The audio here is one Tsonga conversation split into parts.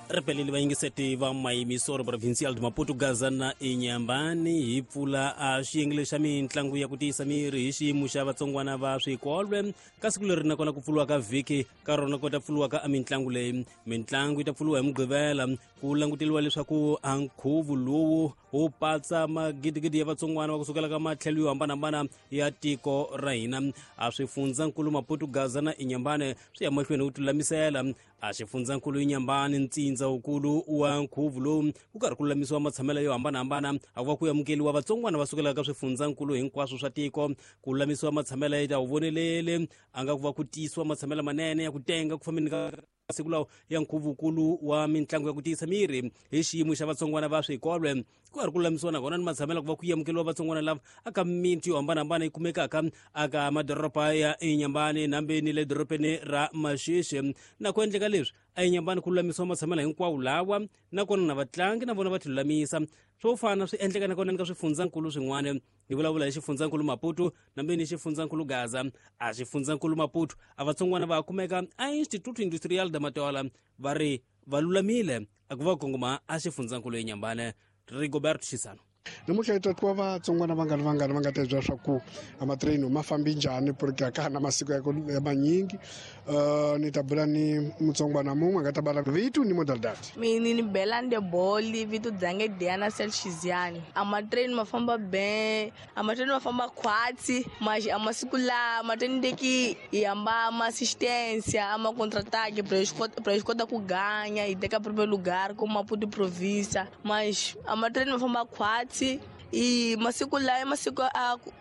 Ripeleli vayingiseti va Mayimiso Provincial de Maputo, Gaza na Inyambani, hi pfula a xiyenge xa mitlangu ya ku tiyisa miri hi xiyimo xa vatsongwana va swikolwe. Ka siku leri nakona ku pfuriwa ka vhiki ka rona ku ta pfuriwa ka mitlangu leyi. Mitlangu yi ta pfuriwa hi Mugqivela. Ku languteriwa leswaku a nkhuvo lowu wu patsa magidigidi ya vatsongwana va kusukela ka matlhelo yo hambanahambana ya tiko ra hina. A swifundzankulu Maputo, Gaza na Inyambane swi ya mahlweni wu tilulamisela. A xifundzankulu Inyambani, ntsindza wukulu wa nkhuvo lowu, ku karhi ku lulamisiwa matshamelo yo hambanahambana a ku va ku amukeliwa vatsongwana va sukelaka ka swifundzankulu hinkwaswo swa tiko. Ku lulamisiwa matshamelo ya ta wu vonelele a nga ku va ku tiyisiwa matshamelo manene ya ku tenga ku fambeni ka siku lawo ya nkhuvukulu wa mitlangu ya ku tiyisa miri hi xiyimo xa vatsongwana va swikolwe. Ku karhi ku lulamisiwa nakona ni matshamelo ku va ku amukeliwa vatsongwana lava aka miti yo hambanahambana yi kumekaka aka madoroba ya Inyambani nambe ni le dorobeni ra Maxixi. Na ku endleka leswi a Inyambani ku lulamisiwa matshamelo hinkwawo lawa, nakona na vatlangi na vona va ti lulamisa. Swo fana swi endleka nakona ni ka swifundzankulu swin'wana. Hi vulavula hi xifundzankulu Maputo nambe ni xifundzankulu Gaza. A xifundzankulu Maputo a vatsongwana va kumeka a Instituto Industrial de Matola, va ri va lulamile a ku va kongoma a xifundzankulu Inyambane. Rigoberto Xisano. Namuntlha hi ta twa vatsongwana vangani vangani va nga ta byela swa ku a matireni ma fambi njhani, porque a ka ha na masiku ya manyingi. Ni ta bula ni mutsongwana mun'we a nga ta bala vito ni modalidad. Mina ni Belande Boli, vito dzange Diana Selchiziani. A matreni ma famba ben, a matreni ma famba khwatsi, mas a masiku la matreni ndeki hi hamba ma assistência, a ma contra-ataque pra eles kota ku ganha hi teka primeiro lugar como Maputo província, mas a matreni ma famba khwatsi. I masiku lawa masiku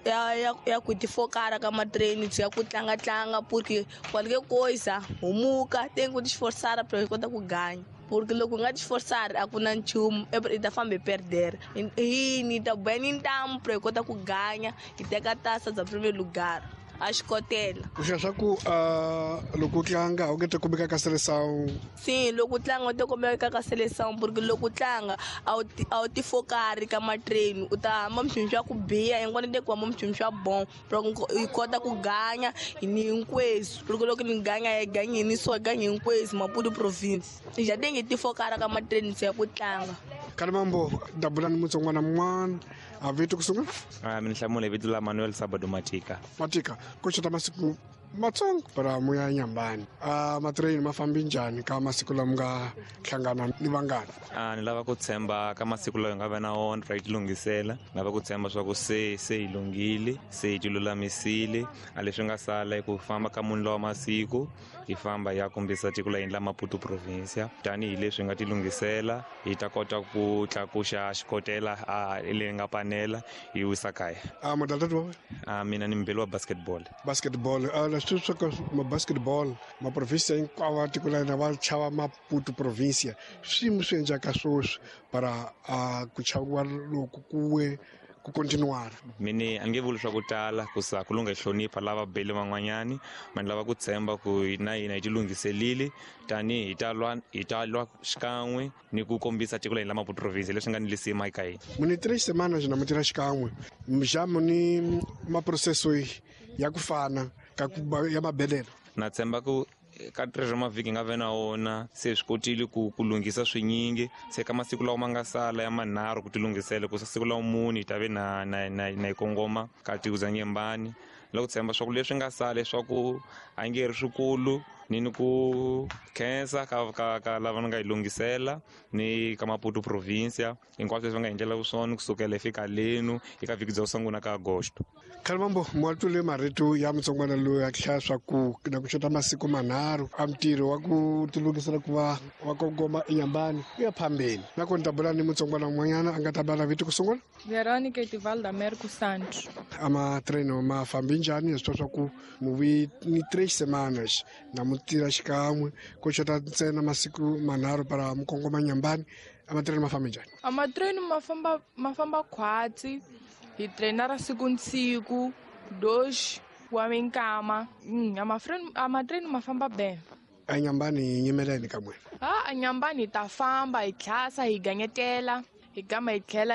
ya ku tifokara ka matreni ya ku tlanga tlanga, porque qualquer coisa humuka tem que te esforçar pra kota ku ganha, porque loko u nga ti esforçar a ku na nchumu, i ta famba hi perder. Hi ni ta boya ni ntamu pra hi kota ku ganha, hi teka tasa bya primeiro lugar a xikotela. Ku hlaya swa ku loko u tlanga u nge te kumeka ka seleção? Sim, loko u tlanga u te kumeka ka seleção, porque loko u tlanga a wu tifokari ka matreni, u ta hamba mchumu swa ku biha hinkwani te ku hamba mchumu swa bon hi kota ku ganya ni hinkwenu, porque loko ni ganya hi ganyi ni so ganyi hinkwenu Maputo province ja tenge tifokara ka matreni ya ku tlanga. Kalimambo dabula ni mutsongwana mun'wana a vito ku sungula. Mina hlamula vito la Manuel Sabado Matika. Matika, ku xota masiku matsongo para muya Nyambani. Matreni ma fambi njhani ka masiku lama nga hlangana ni vangani? Ni lava ku tshemba ka masiku lawa hi nga va na wona ra yi tilunghisela. Ni lava ku tshemba swa ku se hi lunghile, se hi tilulamisile. A leswi nga sala i ku famba ka muni lawa masiku hi famba hi ya kombisa tiko la hina la Maputo provincia. Tanihileswi hi nga tilunghisela hi ta kota ku tlakuxa xikotela a leyi nga panela hi wisa kaya. Modalidad wa wena? Mina ni mubeli wa basketball. Basketball, leswi swa ka ma basketball ma provincia hinkwavo va tiko la hina va chava Maputo provincia. Swiyimo swi endlaka sweswi para ku chaviwa loku kuwe ku continuar. Mini a nge vuli swa ku tala ku sa ku lungha hlonipha lava beli van'wanyani, ma ni lava ku tshemba ku na hina hi tilunghiselile tanihi hi ta lwa xikan'we ni ku kombisa tiko la hina la Maputo province leswi nga ni lisima eka hina. Muni 3 semanas na mu tirha xikan'we, mjamu ni maprocesso ya ku fana ka ku ya mabelelo. Na tshemba ku ka 3 ra mavhiki nga ve na wona se swi kotile ku lunghisa swinyingi. Se ka masiku lawa ma nga sala ya manharhu ku tilunghisela ku siku la mune hi ta ve na hi kongoma ka tiko bya Nyembani. Loko tshemba swa ku leswi nga sala leswaku a nge ri swikulu, ni ku khensa ka lava ni nga yi lunghisela ni ka Maputo provincia hinkwaswo leswi va nga hi endlela swona kusukela hi fika lenu eka vhiki bya ku sungula ka Agosto. Khalimambo, mwatule marito ya mutsongwana loyi a hlaya swa ku na ku xota masiku manharhu a ntirho wa ku tilunghisela ku va wa kongoma eNyambani ku ya phambeni. Nakona ta bula ni mutsongwana un'wanyana a nga ta bala vito ku sungula. Veronica Etivalda Merco Santos. A matreno ma fambi njhani? Swi twa swa ku muvi ni 3 semanas na mu tirha xikan'we ku xota ntsena masiku manharhu para mu kongoma Nyambani. A matreni ma fambi njhani? A matreni ma famba khwatsi. Hi trainara siku ni siku, dox wa minkama. A matreni ma famba ben. A Nyambani hi nyimeleni ka n'wina? A Nyambani hi ta famba, hi tlhasa, hi ganyetela, hi gama hi tlhela.